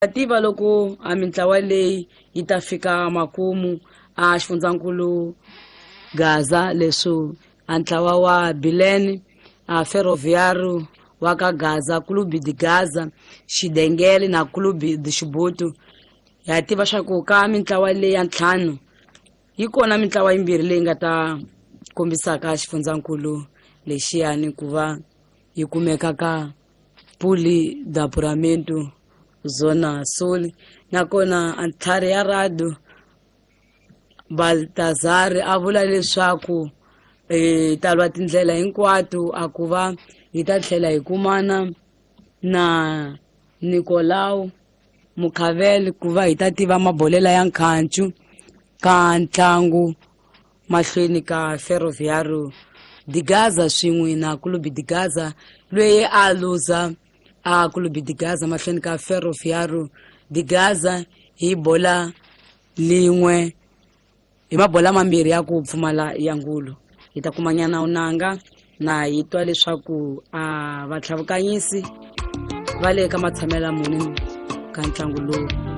Tiva loko a mintlawa leyi yi ta fika makumu a xifundzankulu Gaza, leswi a ntlawa wa Bilene a Ferroviário wa ka Gaza, Clube de Gaza, Xidengele na Clube de Xibutu. Ha tiva swa ku ka mintlawa leyi ya ntlhanu yi kona mintlawa yimbirhi leyi nga ta kombisaka xifundzankulu lexiyani ku va yi kumeka ka Puli da Apuramento Zona Sul. Nakona ntlhari ya Rado Baltazar a vula leswaku ta lwa tindlela hinkwato a ku va hi ta tlhela hi kumana na Nicolau Mukhavele ku va hi ta tiva mabolela ya nkhancu ka ntlangu mahlweni ka Ferroviário de Gaza swin'we na Clube de Gaza, loyi a luza a Clube de Gaza mahlweni ka Ferroviário de Gaza hi bola lin'we hi mabola mambirhi ya ku pfumala ya ngulu. Hi ta kumanyana unanga na hi twa leswaku a vatlhavukanyisi va le ka matshamela muni ka ntlangu lowu.